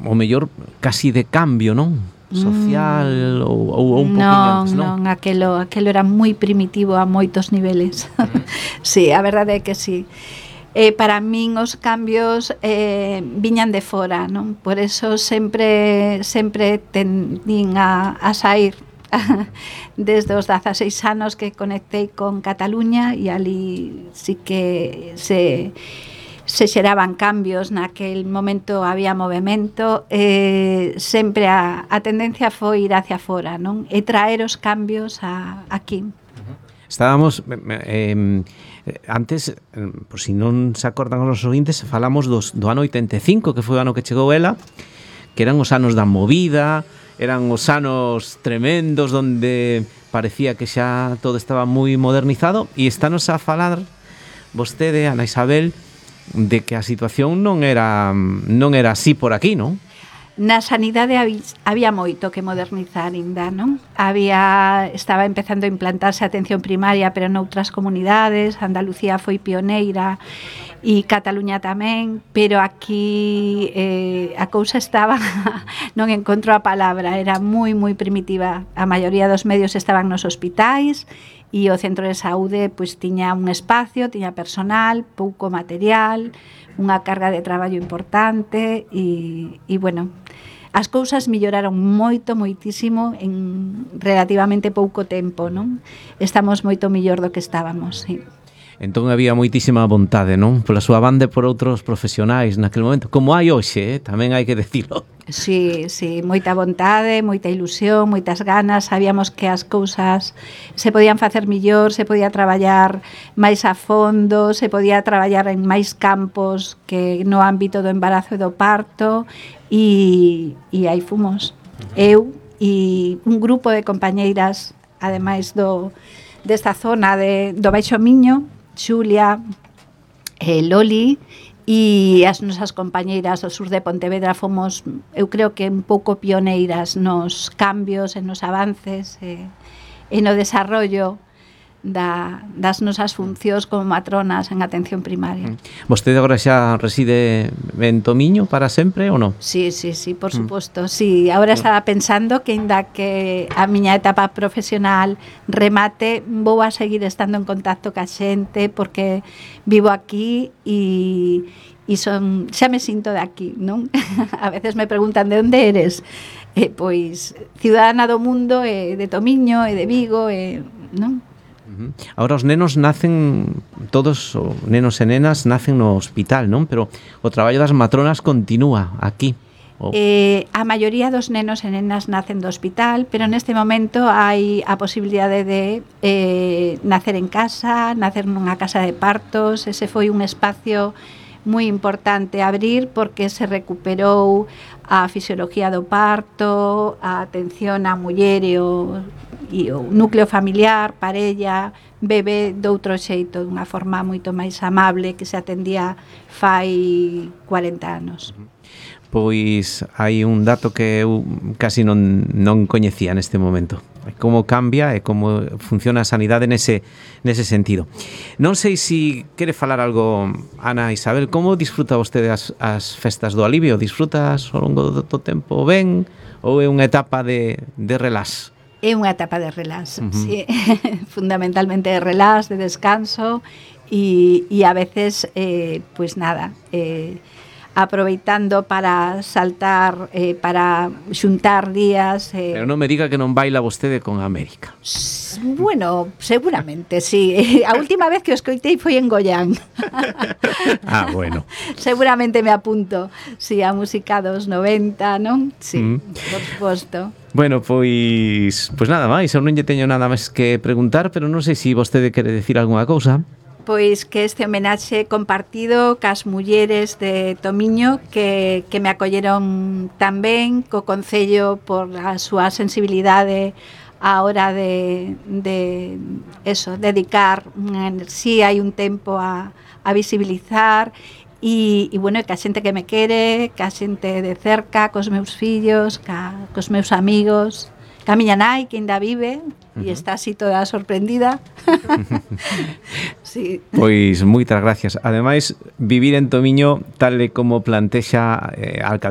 o mellor casi de cambio, non? Social ou un poquinho antes, non? Non, aquelo era moi primitivo a moitos niveles. Sí, a verdade é que sí. Para min os cambios viñan de fora, non? Por eso sempre tendín a sair desde os 16 anos que conectei con Cataluña, e ali sí que se xeraban cambios, naquel momento había movimento, sempre a tendencia foi ir hacia fora, non? E traer os cambios aquí. Estábamos antes, por si non se acordan os ouvintes, falamos do ano 85, que foi o ano que chegou ela, que eran os anos da movida, eran os anos tremendos donde parecía que xa todo estaba moi modernizado, e estános a falar vostede, Ana Isabel, de que a situación non era así por aquí, non? Na sanidade había moito que modernizar ainda, non? Estaba empezando a implantarse a atención primaria, pero noutras comunidades. Andalucía foi pioneira e Cataluña tamén, pero aquí a cousa estaba, non encontro a palabra, era moi primitiva. A maioría dos medios estaban nos hospitais, e o centro de saúde pois tiña un espacio, tiña personal, pouco material, unha carga de traballo importante e bueno, as cousas melloraron moitísimo en relativamente pouco tempo, non? Estamos moito mellor do que estábamos, sí. Entón había moitísima vontade, non? Pola súa banda e por outros profesionais naquele momento, como hai hoxe, tamén hai que dicilo. Sí, moita vontade, moita ilusión, moitas ganas. Sabíamos que as cousas se podían facer mellor, se podía traballar máis a fondo, se podía traballar en máis campos que no ámbito do embarazo e do parto, e aí fomos. Eu e un grupo de compañeiras, ademais desta zona do Baixo Miño, Xulia, Loli, e as nosas compañeiras do sur de Pontevedra fomos, eu creo que un pouco pioneiras nos cambios, en nos avances e no desarrollo das nosas funcións como matronas en atención primaria. Vostede agora xa reside en Tomiño para sempre ou non? Sí, por suposto. Sí, agora estaba pensando que ainda que a miña etapa profesional remate, vou a seguir estando en contacto ca xente porque vivo aquí e xa me sinto de aquí, non? A veces me preguntan de onde eres? Pois ciudadana do mundo, de Tomiño e de Vigo, non? Ahora os nenos nacen, todos os nenos e nenas nacen no hospital, non? Pero o traballo das matronas continúa aquí. A maioría dos nenos e nenas nacen do hospital, pero neste momento hai a posibilidade de nacer en casa, nacer nunha casa de partos. Ese foi un espacio moi importante abrir porque se recuperou a fisiología do parto, a atención á muller e o núcleo familiar, parella, bebé doutro xeito, dunha forma moito máis amable que se atendía fai 40 anos. Pois hai un dato que eu casi non coñecía neste momento. Como cambia e como funciona a sanidade nese sentido. Non sei se quere falar algo, Ana Isabel, como disfruta vostede as festas do alivio? Disfrutas ao longo do tempo ben ou é unha etapa de relax? É unha etapa de relax, sí. Fundamentalmente de relax, de descanso e a veces, pues nada, aproveitando para saltar, para xuntar días. Pero non me diga que non baila vostede con América. Bueno, seguramente, sí. A última vez que o escoitei foi en Goián. Bueno. Seguramente me apunto, sí, a música dos 90, non? Sí, por suposto. Bueno, pois nada máis, eu non lle teño nada máis que preguntar, pero non sei se vostede quere decir algunha cousa. Pois que este homenaxe compartido cas mulleres de Tomiño que me acolleron tan ben, co Concello por a súa sensibilidade á hora de dedicar unha enerxía e un tempo a visibilizar e bueno, que a xente que me quere, que a xente de cerca, cos meus fillos, cos meus amigos, ca miña nai que ainda vive e está así toda sorprendida. Sí. Pois moitas gracias. Ademais, vivir en Tomiño tal e como plantexa a alcaldía